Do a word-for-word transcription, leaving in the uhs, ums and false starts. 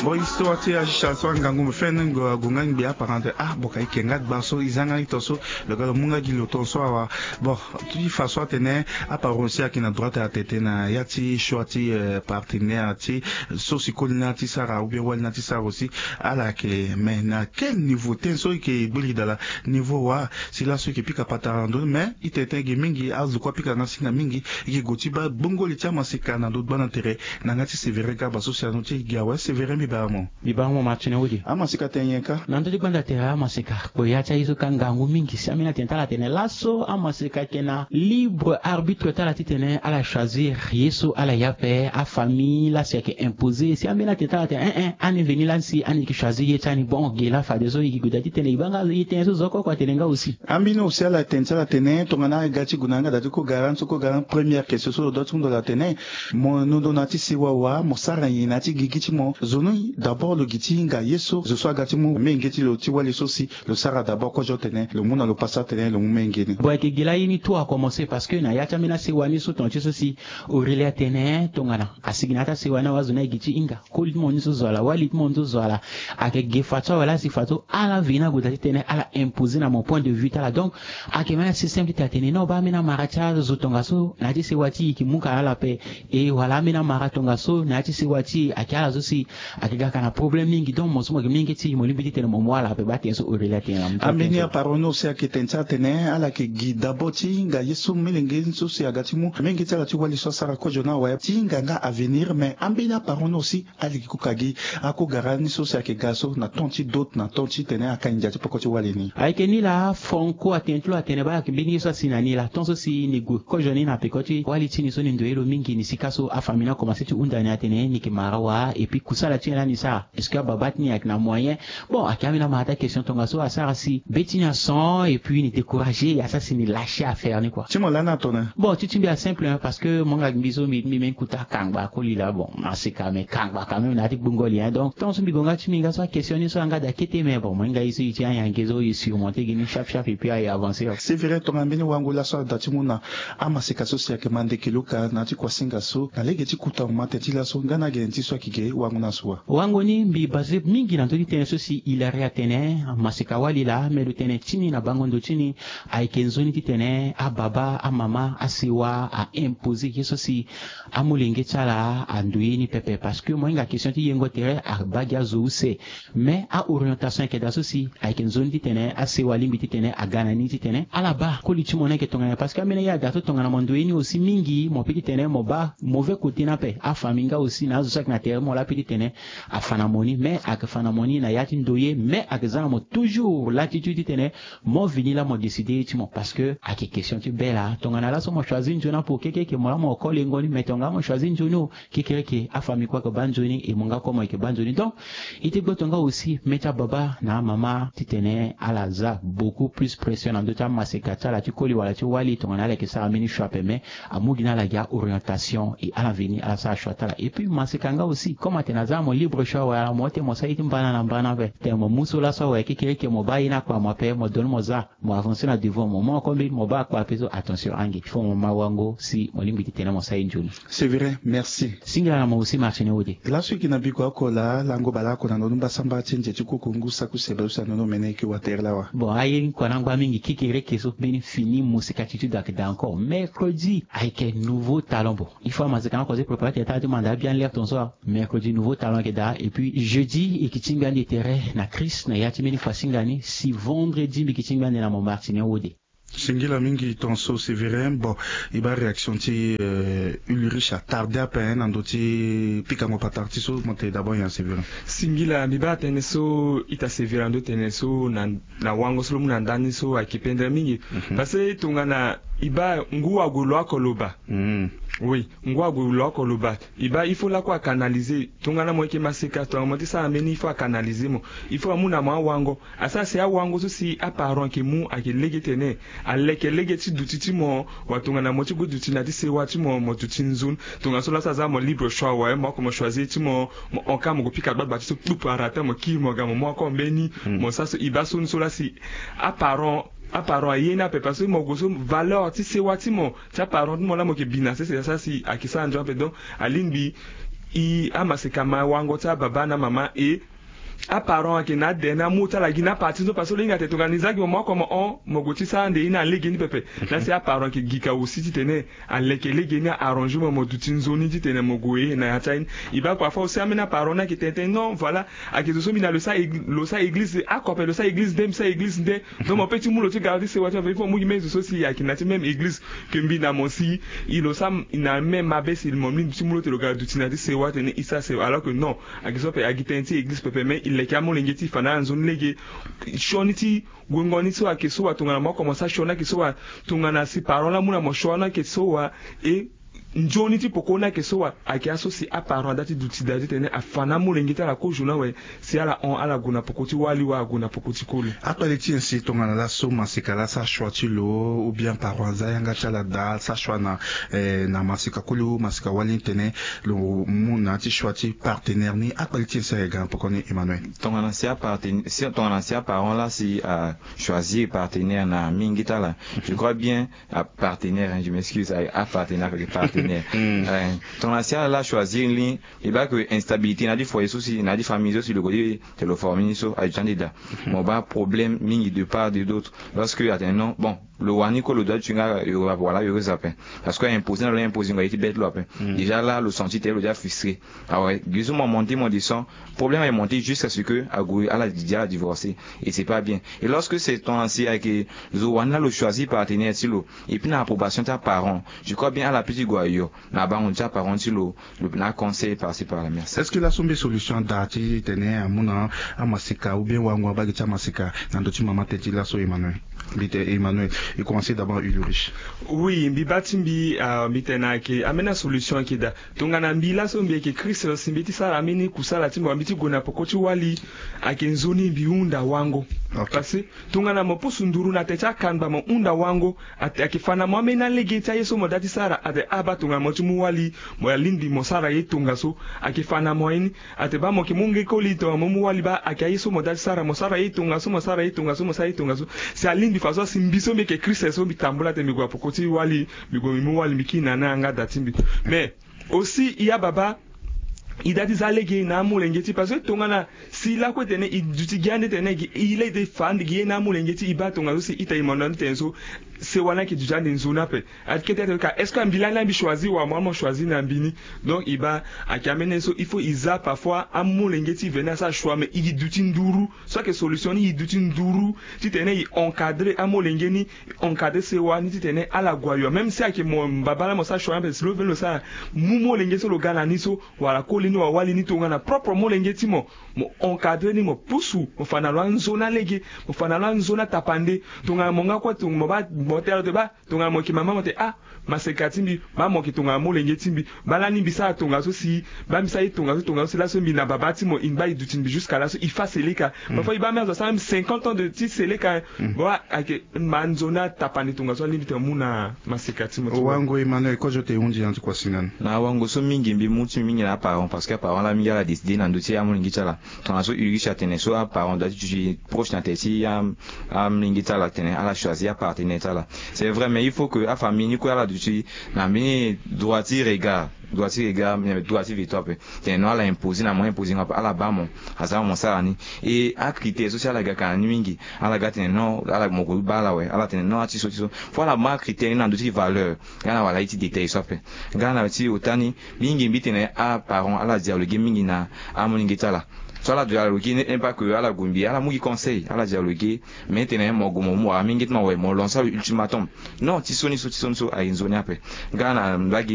Bon, histoire ti achicha so angangu mo fene ngo agunga ngbi aparente ah bon ka ike nga gba so izanga ito so. Lo ga lo munga gi lo ton so awa. Bon, ti fa so atene aparon si ayeke na droite atete na ya ti choix ti partenaire ti so si koli na ti sara ou bien wali na ti sara aussi. Ala yeke mais na quel niveau ten so ike gbeli dala? Niveau wa si laso ike pika patara na ndo ni mais itene ten ege mingi azo kue apika nga singa mingi. Ike go ti baa gbongoli ti amaseka na ndo gbanda tere. Na nga ti severe gaba so si ano ti gi awe severe mbi bara mo. Mbi bara mo martine wodi. Amaseka ten nyen ka? Na ndö ti gbanda tere amaseka kpo ya ti aye so ka ngangu mingi si ambeni atene ti ala tene laso amaseka ayeke na libre arbitre ti ala titene ala choisir ye so ala ye ape afamille lasi ayeke imposer si ambeni atene ti ala tene en en ani veni lani si ani yeke choisir ye ti ani bon ge la fadeso e gi guda titene e baa nga ye tene so zo oko oko atene nga aussi. Ambeni aussi ala tene ti ala tene tongana aga ti gue na yanga da ti ko gara ni so ko gara ni première question so lo dua ti hunda lo atene mo nondo na ya ti sewa wa mo sara nyen na ya ti gigi ti mo zo ni d'abord lo gi ti hinga ye so zo so aga ti mu menge ti lo ti wali so si lo sara d'abord kozo tene lo mu na lo pasa tene lo mu menge ni. Bon ayeke gi laa ye ni tout a commencer parce que na ya ti ambeni asewa ni so tonga ti so si aurelie atene tongana asigi na ya ti asewa ni awe azo ni agi ti hinga koli ti mo ni so zo ala wali ti mo ni so zo ala. Ayeke ge fadeso awe laa si fadeso ala veni ague da titene ala imposer na mo point de vue ti ala donc ayeke même asystème ti tene non baa ambeni amara ti azo tongaso na ya ti sewa ti e yeke mu ka na ala ape. E wala ambeni amara tongaso na ya ti sewa ti e ayeke ala so si ayeke ga ka na problème mingi donc mo so mo yeke mingi ti e mo lingbi titene mo mu ala ape baa tene so aurelie atene na mo ti ambeni aparo ni aussi ayeke tene ti ala tene ala yeke gi d'abord ti hinga ye so melenge ni so si aga ti mu menge ti ala ti wali so asara kozo ni awe ti hinga nga avenir mais ambeni aparo ni aussi aliki kuka gi akogara ni so si ayeke ga so na temps ti dot na temps ti tene akani ndia ti poko ti wali ni. Ayeke ni laa franco atene ti lo atene baa ayeke mbeni ye so asi na ni laa temps so si ni gue kozo ni na peko ti wali ti ni so ni ndoye lo mingi ni sika so afamille ni akomanse ti hunda ni atene ni yeke mara wa et puis kusala ti ni lani sara est-ce que ababa ti ni ayeke na moyen? Bon ayeke ambeni amara ti akestion tongaso asara si be ti ni ason et puis ni décourager ya sara si ni lâcher affaire ni kua. Ti mo lani atone. Bon ti ti mbi asimple hein parce que mo hinga mbi so mbi mbi meni kuta kangba koli laa bon. Asika mais kangba quand même na ya ti gbongoli hein donc tant so mbi gue nga ti mbi nga so akestion ni so anga da kete mais bon mo hinga ye so ye ti anyange so ye surmonter gi ni chape chape et puis aye avancer. C'est vrai tongana mbeni wango laso ada ti mu na amaseka so si ayeke ma ndeke luka na ya ti kuasinga so na lege ti kuta mo ma tene ti laso nga na gene ti so ayeke ge wango na so wa. Wango ni mbi base mingi na ndö ti tënë so si hilari atene amaseka wali laa me lo tene ti ni na bango ndo ti ni. Ayeke nzoni titene ababa amama asewa a imposer ye so si amolenge ti ala ando ye ni pepe parce que mo hinga question ti yengo tere abaa gi azo use. Mais a orientation ayeke daa so si ayeke nzoni titene asewa alingbi titene aga na ni titene ala baa koli ti mo ni ayeke tongana nyen parce que ambeni aye ada so tongana mo ndo ye ni aussi mingi mo peut titene mo baa mauvais côté ni ape afamille nga aussi na azo so ayeke na tere ti mo laa peut titene afa na mo ni mais ayeke fa na mo ni na ya ti ndo ye mais ayeke za na mo toujours l'attitude titene mo vini laa mo décider ye ti mo parce que ayeke question ti be laa tongana laso mo choisir nzoni apo kekereke mo laa mo ko lengo ni mais tongana mo choisir nzoni o kekereke afamille kue ayeke baa nzoni et mo nga kue mo yeke baa nzoni donc. Ite gboto nga aussi me ti ababa na amama titene ala za beaucoup plus pression na ndö ti amaseka ti ala ti koli wala ti wali tongana ala yeke sara mbeni choix ape mais amu gi na ala gi a orientation et ala veni ala sara choix ti ala et puis maseka nga aussi comme atene aza na mo libre choix wala mo ute mo sara ye ti mbana na mbana ape tene mo mu so laso awe kekereke mo baa ye ni akpa mo ape mo doni mo za mo avancer na devant mo mo encore mbeni mo baa akpa ape so attention ange il faut mo ma wango si mo lingbi titene mo sara ye nzoni. C'est vrai, merci. Singila na mo aussi martine wode. Laso e yeke na biko oko laa lango baleoko na ndoni mbasambara ti nze ti kuku ngu saku sebe so si na ndoni omene e yeke watere lawa. Bon aye ni kua na ngba mingi kekereke so mbeni fini mosika ti tudo ayeke daa encore mercredi ayeke nouveau talent bon. Il faut amaseka na koze prépare ti taa ti manda abia nler ton so mercredi nouveau talent ayeke daa et puis jeudi e yeke tingbi ande tere na christ na ya ti mbeni fasinga ni si vendredi mbi yeke tingbi ande na mo martine wode. Singila mingi ton so sévérin bon. E baa réaction ti ulrich atarde ape na ndö ti pikango patara ti so mo tene d'abord nyen sévérin? Singila mbi baa tënë so ita sévérin ando tene so na wango so lo mu na ndani so ayeke pendere mingi. Parce que tongana e baa ngu ague lo oko lo baa. Oui, ngu ague lo oko lo baa. E baa il faut lakue akanalize tongana mo yeke maseka tongana mo ti sara mbeni il faut akanalize mo. Il faut amu na mo awango. Asara si awango so si aparent ayeke mu ayeke lege tene aleke lege ti duti ti mo. Watongana mo ti gue duti na ti sewa ti mo mo duti nzoni. Tongana so laso aza mo libre choix awe mo oko mo choisir ti mo. Mo hon ka mo gue pika gbagba ti so kpupu arata mo kiri mo ga mo mu oko mbeni. Mo sara so e baa so ni so lasi aparent aparent aye ni ape parce que mo gue so valeur ti sewa ti mo ti aparent ti mo laa mo yeke bi na sese asara si ayeke sara nzoni ape donc alingbi i amaseka ma wango ti ababa na mama e. Aparent ayeke na ade na amu ti ala gi na parti so parce que lo hinga tene tongana ni za gi mo mo oko mo hon mo gue ti sara nde ye ni na lege ni pepe. Na si aparent ayeke gi ka aussi titene aleke lege ni a-arranger mo mo duti nzoni titene mo gue na ya ti aye ni. E baa parfois aussi ambeni aparent ni ayeke tene tene non voilà, ayeke zo so mbi na lo sa eg- lo sa eglize de oko ape lo sa eglize nde mbi sa eglize nde. Donc mo pe ti mu lo ti ga ti sewa ti mo ape il faut mo mu gi même zo so si ayeke na ti même eglize ke mbi na mo si i lo sa i na même mabe si mo mlingbi ti mu lo tene lo ga duti na ti sewa tene i sa sewa alors que non. Ayeke so ape agi tënë ti eglize pepe mais i leke amolenge ti i fa na ala nzoni lege. Sioni ti guengo ni so ayeke so wa tongana mo oko mo sa sioni ayeke so wa tongana si parent la mu na mo sioni ayeke so wa. E nzoni ti poko ni ayeke so wa ayeke aso si aparent ada ti duti daa titene afa na amolenge ti ala kozo ni awe. Si ala hon ala gue na poko ti wali wala ague na poko ti koli. Akpali ti nyen si tongana laso maseka la asara choix ti lo ou bien parent aza yanga ti ala daa asara choix na eh, na maseka koli ou maseka wali ni tene lo mu na ya ti choix ti partenaire ni akpali ti nyen si ayeke ga na poko ni Emmanuel? Tongana si aparten- si tongana si aparent la si achoisir partenaire na mingi ti ala, je crois bien apartenaire hein, je m'excuse a- apartenaire avec partenaire. Eh, tongana si ala la achoisir ni e baa ke instabilité na ya ti foyer so si na ya ti famille so si lo gue ti tene lo former ni so aye ti ande daa. Mo baa problème mingi de part de d'autre parce que atene non bon lo wani kue lo doit ti nga yo wala yo heureuse ape. Parce que a imposer na lo a imposer ngo aye ti bête lo ape. Déjà la lo senti tene lo déjà frustré. Awe gi so mo monter mo descend, problème aye monter jusqu'à ce que ague ala déjà divorcer. Et c'est pas bien. Et lorsque c'est ton si ayeke zo wani la lo choisir partenaire ti lo et puis na approbation ti aparent, je crois bien ala pe ti gue ayo na bango ti aparent ti lo. Lo na conseil par ci par là merci. Est-ce que laso mbi solution ada ti tene amu na amaseka ou bien wango abaa gi ti amaseka na ndö ti mama tënë ti laso Emmanuel? Mbi tene Emmanuel. E commencer d'abord Ulrich. Oui mbi baa ti mbi ah, mbi tene ayeke ambeni asolution ayeke daa. Tongana mbi laso mbi yeke christ si mbi ye ti sara ambeni kusala ti mbi wala mbi ye ti gue na poko ti wali. Ayeke nzoni mbi hunda wango. Parce que tongana mo pusu nduru na tene ti akangba mo hunda wango. Ayeke fa na mo ambeni alege ti aye so mo daa ti sara ate abaa tongana mo ti mu wali. Mo ya lingbi mo sara ye tongaso. Ayeke fa na mo ye ni. Ate baa mo yeke mu nge koli tongana mo mu wali baa ayeke aye so mo daa ti sara mo sara ye tongaso mo sara ye tongaso mo sara ye tongaso. Si alingbi faso si mbi so mbi yeke christ so mbi tambula ate mbi gue na poko ti wali. Mbi gue mbi mu wali mbi kiri na ni na yanga da ti mbi. Mais aussi i ababa i daa ti za lege na amolenge ti parce que tongana si lakue tene i duti gi ande tene gi i lege ti fa ande gi ye na amolenge ti i baa tongaso si ita i mondo ande tene so. Sewa ni ayeke duti ande nzoni ape. Ayeke kete ate ka est-ce que ambi lani ambi choisir wala mo amo choisir na mbi ni. Donc i baa ayeke ambeni so il faut i za parfois amolenge ti i veni asara choix mais i duti nduru. So ayeke solution ni i duti nduru titene i encadrer amolenge ni. Encadrer sewa ni titene ala gue ayo même si ayeke mo mbaba laa mo sara choix ni ape si lo veni lo sara mu molenge so lo ga na ni so. Wala koli ni wala wali ni tongana propre molenge ti mo. Mo encadrer ni mo pusu mo fa na lo anzoni alege. Mo fa na lo anzoni atapande. Tongana mo nga kue tongana mo baa mo tene lo te baa tongana mo yeke mama mo tene ah. Maseka ti mbi baa mo yeke tongana molenge ti mbi. Baa lani mbi sara tongaso si baa mbi sara ye tongaso tongaso si laso mbi na baba ti mo i baa i duti mbi jusqu'à laso i fa seleka. Parfois i baa mbi azo asara mbi cinquante ans de ti seleka. Bon ayeke ma nzoni atapande tongaso alingbi tene mu na maseka ti mo ti wango Emmanuel kozo te hundi na ti kuasina ni. Na wango so mingi mbi mu ti mbi mingi na aparent parce que aparent laa mingi ala décider na ndö ti amolenge ti ala. Tongana so iriche atene so aparent doit ti duti proche na tene ti amolenge ti ala tene ala choisir apartenaire ti ala. C'est vrai mais il faut que afamille ni kue ala duti na mbeni droit ti regard. Droit ti regard droit ti veto ape. Tene non ala imposer na mo imposer nga ape ala baa mo. Aza mo sara ni. E acritère so si ala ga ka na ni mingi. Ala ga tene non ala mo ko baa ala awe ala tene non ati so ti so. Fo ala ma acritère ni na ndö ti valeur. Nga na wala ye ti détail so ape. Nga na ti ota ni mingi mbi tene aparent ala dialoguer mingi na amolenge ti ala. So ala dialoguer n'est pas que ala gue mbi ala mu gi conseil ala dialoguer. Mais tene mo gue mo mu wala mingi ti mo awe mo lancer lo ultimatum. Non ti so ni so ti so ni so aye nzoni ape. Nga na mbage